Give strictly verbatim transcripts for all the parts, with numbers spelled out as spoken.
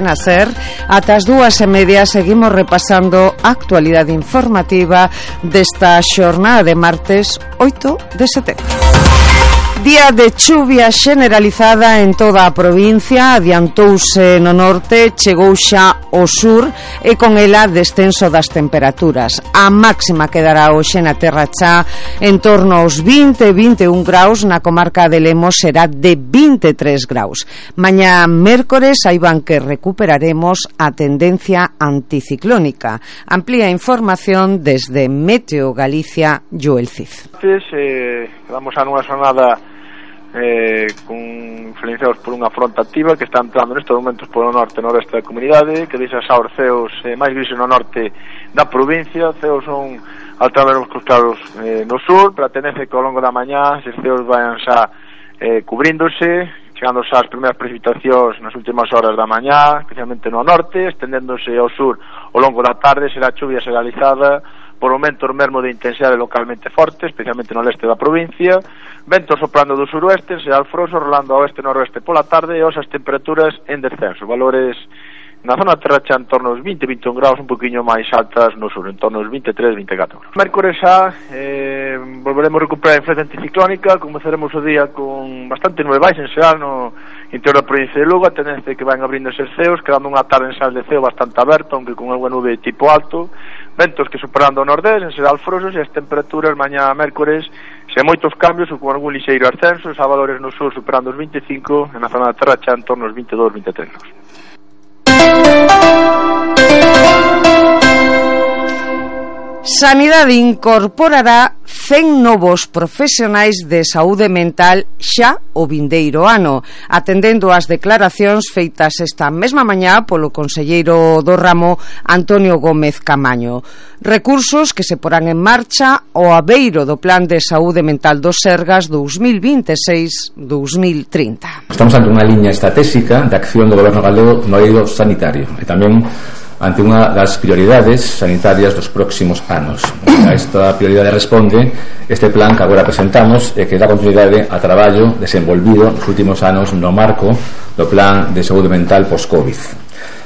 A ser, ata as dúas e media seguimos repasando a actualidade informativa desta xornada de martes oito de setembro. Día de chuvia generalizada en toda a provincia, adiantouse no norte, chegou xa ao sur e con ela descenso das temperaturas. A máxima quedará hoxe na Terra Chá en torno aos vinte a vinte e un graus, na comarca de Lemos será de vinte e tres graus. Mañá mércores saiban que recuperaremos a tendencia anticiclónica. Amplía información desde Meteo Galicia, Joel Cid. Eh, vamos a nunha xornada eh, con influenciados por unha fronte activa que está entrando nestes momentos polo norte e noreste da comunidade, que deixa xa os ceos eh, máis grises no norte da provincia. Os ceos son altamente cos claros eh, no sur, pero a tendencia que ao longo da mañá esses ceos vayan xa eh, cubríndose, chegando xa as primeiras precipitacións nas últimas horas da mañá, especialmente no norte, estendéndose ao sur ao longo da tarde. Será chuvia generalizada, por momentos mesmo de intensidade localmente forte, especialmente no leste da provincia, ventos soprando do suroeste, será alfroso, rolando ao oeste e noroeste pola tarde, e as temperaturas en descenso, valores na zona da Terra Chá en torno aos vinte a vinte e un graus, un poquinho máis altas no sur, en torno aos vinte e tres a vinte e catro. Mércores xa eh, volveremos a recuperar a influencia anticiclónica, comezaremos o día con bastante nube baixa en xeral no interior da provincia de Lugo, a tendencia que van abrindo eses ceos, quedando unha tarde en xeral de ceo bastante aberta, aunque con algo nube tipo alto, ventos que superando o nordés, en xeral frosos, e as temperaturas mañá mércores sen moitos cambios ou con algún lixeiro ascenso, a valores no sur superando os vinte e cinco, e na zona da Terra Chá en torno aos vinte e dous a vinte e tres graus. Sanidade incorporará cen novos profesionais de saúde mental xa o vindeiro ano, atendendo ás declaracións feitas esta mesma mañá polo conselleiro do ramo Antonio Gómez Camaño. Recursos que se porán en marcha ao abeiro do Plan de Saúde Mental do Sergas dous mil vinte e seis a dous mil trinta. Estamos ante unha liña estratégica de acción do Goberno galego no eido sanitario e tamén ante unha das prioridades sanitarias dos próximos anos. A esta prioridade responde este plan que agora presentamos e que dá continuidade a traballo desenvolvido nos últimos anos no marco do Plan de Saúde Mental post-Covid.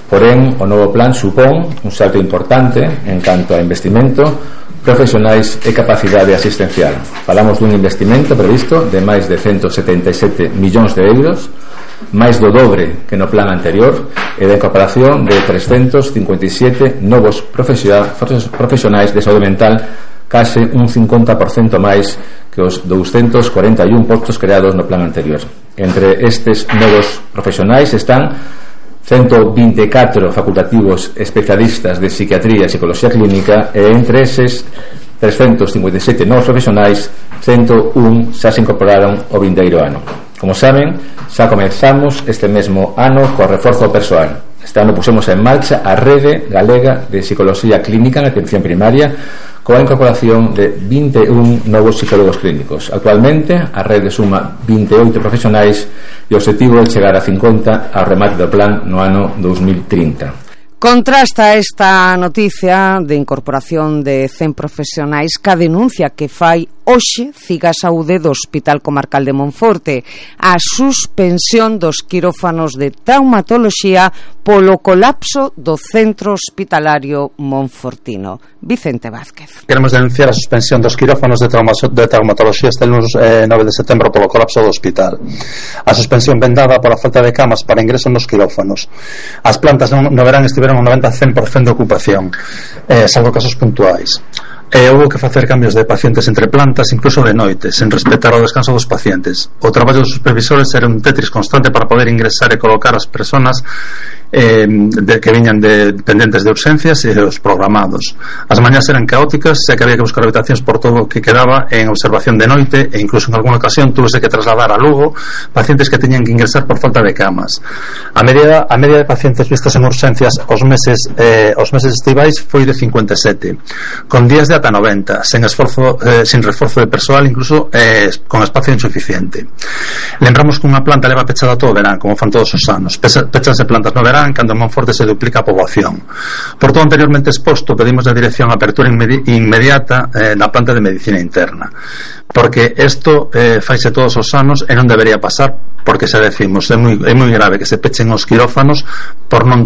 Porén, o novo plan supón un salto importante en canto a investimento, profesionais e capacidade asistencial. Falamos dun investimento previsto de máis de ciento setenta e sete millóns de euros, máis do dobre que no plan anterior, e da incorporación de trescentos cincuenta e sete novos profesionais de saúde mental, case un cincuenta por cento máis que os doscientos cuarenta e un postos creados no plan anterior. Entre estes novos profesionais están ciento vinte e catro facultativos especialistas de psiquiatría e psicología clínica, e entre eses trescentos cincuenta e sete novos profesionais, ciento un xa se incorporaron o vindeiro ano. Como saben, xa comenzamos este mesmo ano co reforzo persoal. Este ano pusemos en marcha a Rede Galega de Psicología Clínica en atención primaria, coa incorporación de vinte e un novos psicólogos clínicos. Actualmente, a rede suma vinte e oito profesionais e o objetivo é chegar a cincuenta ao remate do plan no ano dous mil trinta. Contrasta esta noticia de incorporación de cen profesionais ca denuncia que fai hoxe Ciga Saúde do Hospital Comarcal de Monforte, a suspensión dos quirófanos de traumatoloxía polo colapso do centro hospitalario monfortino. Vicente Vázquez. Queremos denunciar a suspensión dos quirófanos de, trauma, de traumatoloxía este lunes eh, nove de setembro polo colapso do hospital. A suspensión ven dada pola falta de camas para ingreso nos quirófanos. As plantas no, no verán estiveron un noventa a cen por cento de ocupación, eh, salvo casos puntuais. E houve que facer cambios de pacientes entre plantas, incluso de noite, sen respetar o descanso dos pacientes. O traballo dos supervisores era un tetris constante para poder ingresar e colocar as persoas eh, de, que viñan de dependentes de urgencias e os programados. As mañás eran caóticas, e que había que buscar habitacións por todo o que quedaba en observación de noite, e incluso en alguna ocasión tuvese que trasladar a Lugo pacientes que teñan que ingresar por falta de camas. A media, a media de pacientes vistos en urgencias os meses, eh, os meses estivais foi de cincuenta e sete, con días de ata noventa, sen esforzo, eh, sin reforzo de persoal, incluso eh, con espacio insuficiente. Lembramos que unha planta leva pechada todo o verán, como fan todos os anos. Pechanse plantas no verán duplicarán cando en Monforte se duplica a poboación. Por todo anteriormente exposto, pedimos a dirección a apertura inmedi- inmediata eh, na planta de medicina interna, porque isto eh, faise todos os anos e non debería pasar, porque xa decimos, é moi, é moi grave que se pechen os quirófanos por non